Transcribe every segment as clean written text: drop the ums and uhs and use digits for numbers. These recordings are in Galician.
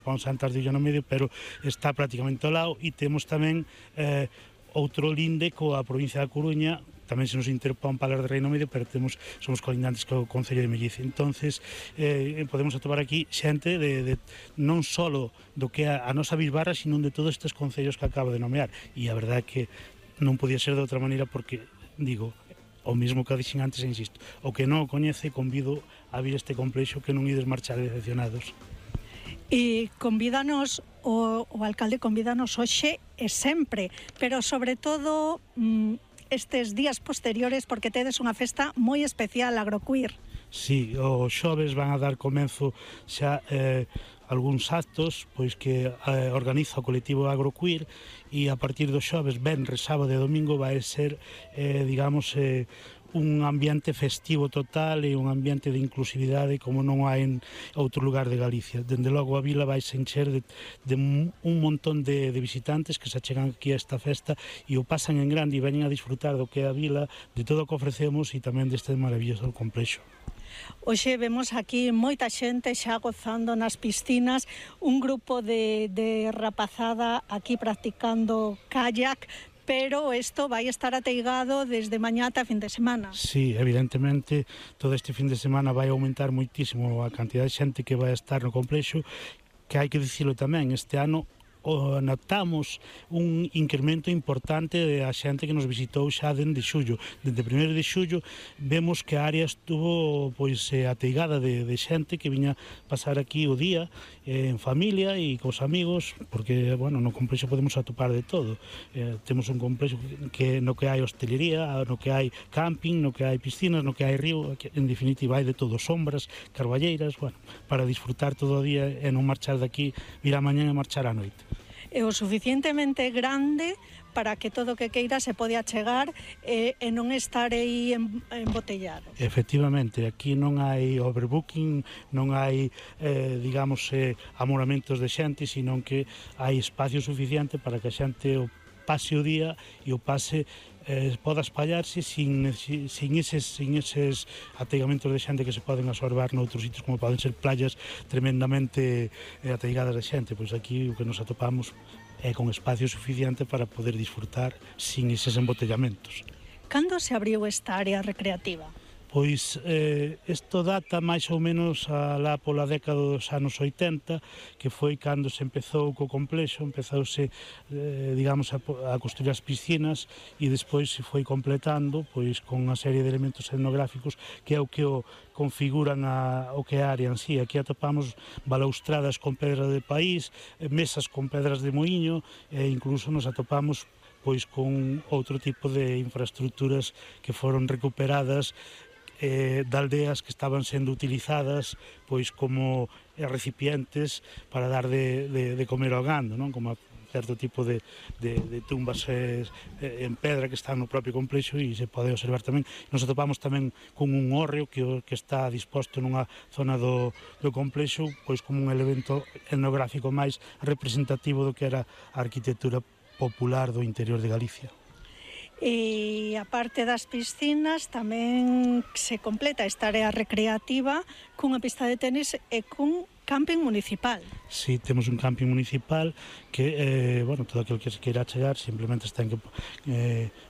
Pon Santas de Illo no medio, pero está prácticamente ao lado, e temos tamén outro linde coa provincia da Coruña, tamén se nos interpón Palas de Rei no medio, pero somos colindantes co Concello de Melliz. Entonces podemos atopar aquí xente non só do que é a nosa bisbarra, sino de todos estes concellos que acabo de nomear, e a verdade é que non podía ser de outra maneira, porque, digo, o mesmo que dixen antes, insisto, o que non o coñece, convido a vir este complexo, que non ides marchar decepcionados. E convídanos, o alcalde convídanos hoxe e sempre, pero sobre todo estes días posteriores, porque tedes unha festa moi especial, Agroqueer. Sí, os xoves van a dar comenzo xa algúns actos pois que organiza o colectivo Agroqueer, e a partir dos xoves, venres, sábado e domingo vai ser, digamos, un ambiente festivo total e un ambiente de inclusividade como non hai en outro lugar de Galicia. Dende logo a vila vai se encher de un montón de visitantes que se achegan aquí a esta festa e o pasan en grande e veñen a disfrutar do que é a vila, de todo o que ofrecemos e tamén deste maravilloso complexo. Hoxe vemos aquí moita xente xa gozando nas piscinas, un grupo de rapazada aquí practicando kayak, pero isto vai estar ateigado desde mañá ata fin de semana. Sí, evidentemente, todo este fin de semana vai aumentar moitísimo a cantidad de xente que vai estar no complexo, que hai que dicilo tamén, este ano notamos un incremento importante da xente que nos visitou xa dende xullo. Dende 1 de xullo vemos que a área estuvo ateigada de xente que viña pasar aquí o día en familia e cos amigos, porque, bueno, no complexo podemos atopar de todo. Temos un complexo no que hai hostelería, no que hai camping, no que hai piscinas, no que hai río, en definitiva hai de todo, sombras, carballeiras, bueno, para disfrutar todo o día e non marchar daqui, vir a mañá e marchar á noite. É o suficientemente grande para que todo o que queira se pode achegar e non estar aí embotellado. Efectivamente, aquí non hai overbooking, non hai, digamos, amoramentos de xente, sino que hai espacio suficiente para que a xente o pase o día e o pase poda espallarse sin eses ateigamentos de xente que se poden absorber noutros sitios, como poden ser playas tremendamente ateigadas de xente. Pois aquí o que nos atopamos é con espacio suficiente para poder disfrutar sin eses embotellamentos. Cando se abriu esta área recreativa? Pois isto data máis ou menos alá pola década dos anos 80, que foi cando se empezou co complexo, empezouse, digamos, a construir as piscinas, e despois se foi completando pois con unha serie de elementos etnográficos que é o que o configuran o que é a área en sí. Aquí atopamos balaustradas con pedra de país, mesas con pedras de moinho, e incluso nos atopamos pois con outro tipo de infraestructuras que foron recuperadas de aldeas que estaban sendo utilizadas pois como recipientes para dar de comer ao gando, non? Como certo tipo de tumbas en pedra que están no propio complexo, e se pode observar tamén. Nos atopamos tamén con un hórreo que está disposto nunha zona do complexo pois como un elemento etnográfico máis representativo do que era a arquitectura popular do interior de Galicia. E a parte das piscinas tamén se completa esta área recreativa cunha pista de tenis e cun camping municipal. Sí, temos un camping municipal que, bueno, todo aquilo que se queira chegar simplemente ten que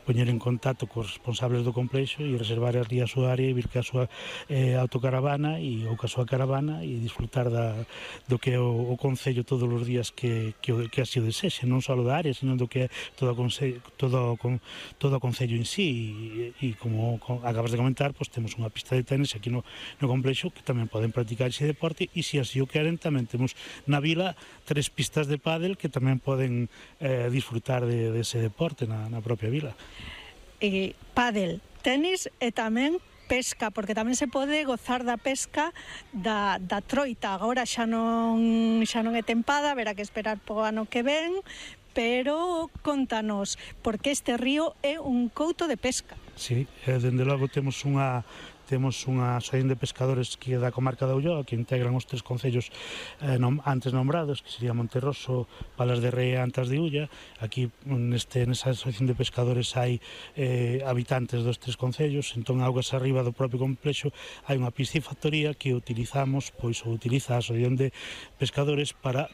poñer en contacto cos responsables do complexo e reservar ali a súa área e vir que a súa autocaravana ou que a súa caravana e disfrutar do que é o concello todos os días que así o desexe, non só da área, sino do que é todo o concello en sí, e como acabas de comentar, pois temos unha pista de tenis aquí no complexo que tamén poden practicar ese deporte, e se así o queren tamén temos na vila 3 pistas de pádel que tamén poden disfrutar dese deporte na propia vila. Pádel, tenis e tamén pesca, porque tamén se pode gozar da pesca da troita. Agora xa non é tempada, haberá que esperar po ano que ven, pero contanos, porque este río é un couto de pesca. Sí, dende logo temos temos unha asociación de pescadores que é da comarca da Ulloa, que integran os 3 concellos antes nombrados, que sería Monterroso, Palas de Rei e Antas de Ulla. Aquí nesa asociación de pescadores hai habitantes dos 3 concellos, entón augas arriba do propio complexo hai unha piscifactoría que utilizamos, pois, ou utiliza a asociación de pescadores para